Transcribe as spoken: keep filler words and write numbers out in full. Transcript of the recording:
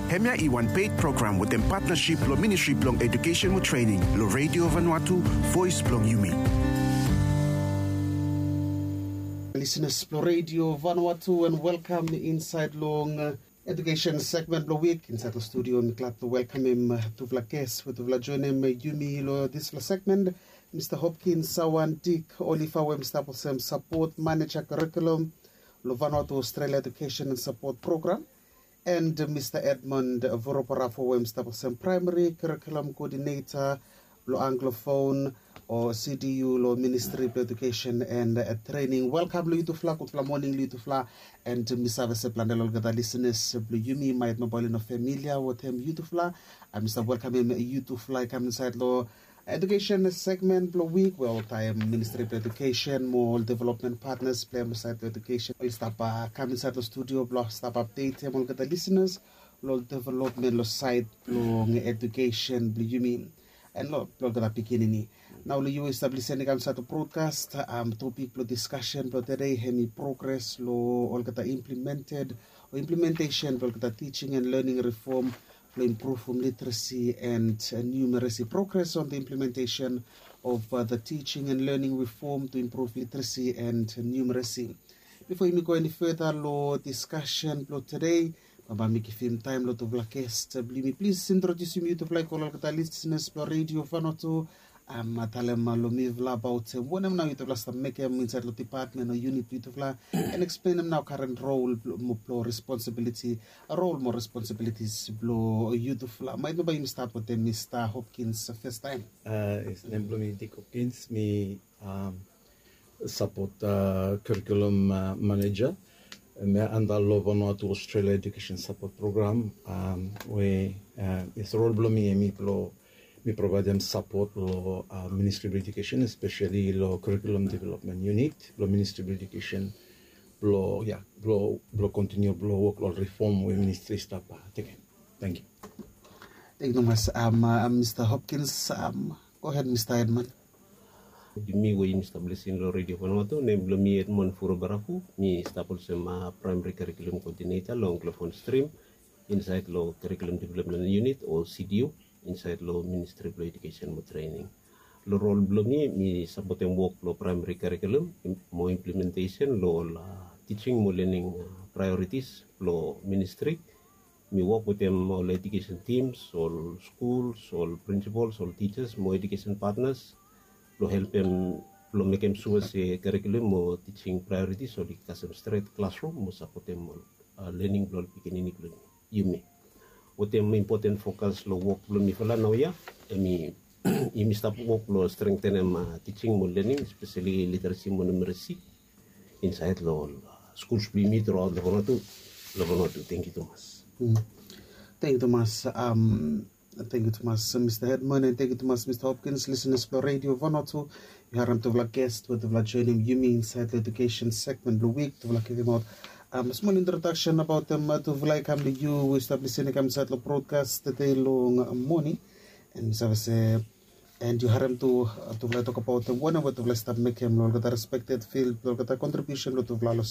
Hemia i wan paid program wetem patnasip long Ministri blong Edukesen mo Trening long Radio Vanuatu, Voes blong Yumi. Lisenas blong Radio Vanuatu, and welkam insaed long uh, edukesen segmen blong wik. Insaed long studio mi glad blong welkamem uh, tufala ges we tufala joenem uh, yumi long disfala segmen, Mista Hopkins Sawan Dik Olifa, we mi stap olsem sapot maneja kurikulum long Vanuatu Australia Edukesen and Sapot Program, and Mista Edmund Voroparafo, we mi stap olsem praemari kurikulum koodineta blong Anglophone o C D U long Ministri blong Edukesen and uh, Trening. Welkam long yutufala, gudfala moning long yutufala. And mi save se plante long olgeta lisenas blong yumi maet nao bae oli no familia wetem yutufala. Mi stap welkamem yutufala i kam insaed long edukesen segmen blong wik, we oltaem Ministri blong Edukesen mo ol developmen patnas blong hem insaed long edukesen oli stap uh, kam insaed long studio blong stap apdetem olgeta lisenas long ol developmen long saed blong edukesen blong yumi and long olgeta pikinini. Nao long yu we yu stap lisening kam insaed long brodkas, um, topik blong diskasen blong tede hemi progres long olgeta implemented o implementesen blong olgeta teaching and learning reform blong impruvum literesi and uh, numeresi. Progres on the implementation of uh, the teaching and learning reform to improve literacy and uh, numeracy. Bifo yumi go eni feda long diskasen blong tede, bambae mi givim taem long tufala ges blong yumi. Plis introdiusim yutufala i go long olgeta lisenas blong Radio Vanuatu. Um, talem uh, long mifala abaot uh, wanem nao yutufala stap mekem insaed long dipatmen o yunit blong yutufala, and eksplenem nao karen rol blong responsibiliti, rol mo responsibilitis blong yutufala. Maet nao bae yumi stat wetem Mista Hopkins fastaem. Uh, yes, nem blong mi Dik Hopkins, mi um, sapot uh, kurikulum uh, maneja. Mi anda long Vanuatu Australia Edukesen Sapot Program, um, we uh, yes, rol blong mi hemi blong mi provaedem sapot long uh, Ministri blong Edukesen, espeseli long kurikulum developmen yunit blong Ministri blong Edukesen blong, ya, blong kontiniu blong wok long ol reform we ministri i stap uh, tekem. Tangkiu. Tangkiu tumas, um, uh, Mista Hopkins. Um, go ahed, Mista Edmund. Yumi we yumi stap lisin long Radio Vanuatu, nem blong mi Edmund Voroparafo. Mi stap olsem uh, praemari kurikulum koodineta long Anglophone Stream insaed long Kurikulum Developmen Yunit o C D U insaed long Ministri blong Edukesen mo Trening. Long rol blong mi, mi sapotem wok blong praemari kurikulum mo implementesen long ol uh, teaching mo lening uh, praeoritis blong ministri. Mi wok wetem ol edukesen tims, ol skuls, ol prinsipols, ol tijas mo edukesen patnas blong helpem, blong mekem sua se kurikulum mo teaching praeoritis oli kasem stret klasrum mo sapotem ol uh, lening blong ol pikinini blong yumi. Wetem impoten fokas long wok blong mifala naoia, hemi yumi stap wok blong strengtenem uh, teaching mo lening, espeseli literesi mo numeresi insaed long ol uh, skuls blong yumi truaot long Vanuatu. Long Vanuatu. Tangkiu tumas. Mm. Tangkiu tumas, um, tangkiu tumas, uh, Mista Edmund, and tangkiu tumas, Mista Hopkins. Lisenas blong Radio Vanuatu, yu harem tufala ges we tufala joenem yumi insaed long edukesen segmen blong wik. Tufala givimaot um, smol introdaksen abaotem uh, tufala i kam long yu we yu stap lisin i kam insaed long brodkas tede long uh, moning. And mi save se, and yu harem tu uh, tufala i tokbaot uh, wanem we tufala i stap mekem long olgeta respekted field blong olgeta kontribiusen blong tufala long